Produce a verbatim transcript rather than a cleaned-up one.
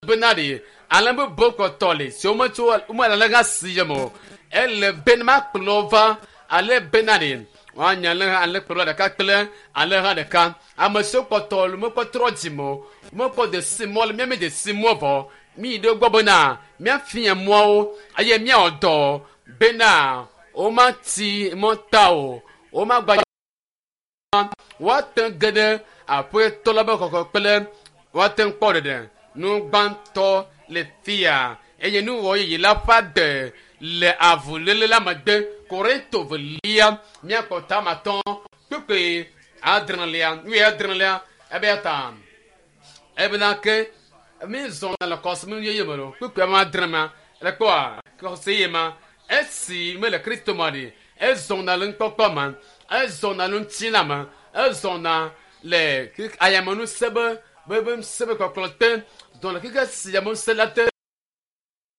Bena ɖe ale be bokɔtɔ le si wometso womele ale hã si yem o ele be ma kplɔ va ale bena ɖe woanya ale ale kplɔ ɖeka kple ale hã ɖeka ame siwo kpɔtɔ le mekpɔ trɔ dzime o mekpɔ de si mɔ le míame de si mɔ vɔ mi ɖe gbɔ bena míafia mɔawo eye míawɔ dɔ bena womati mɔ ta o womagba woate ge ɖe aƒetɔ la be xɔxɔ kple woate ŋu kpɔ ɖeɖe nu gbãtɔ le fia eye nuwɔ yeye la ƒe ade le avuléle la megbe korinto velia míakpɔ tamatɔ kpekpe adrelia wuiadrelia ebe ya ta ebena ke mi zɔna le kɔsime yeye me lo kpekpe ame adre ma le kpɔa kɔsi ye ma esi mele kristo ma ɖi ezɔna le nukpɔkpɔ me ezɔna le ŋutilã me ezɔna le ayamenusẽ be be be ŋusẽ be kɔkplɔ te zɔna keke si ame ŋusẽ la te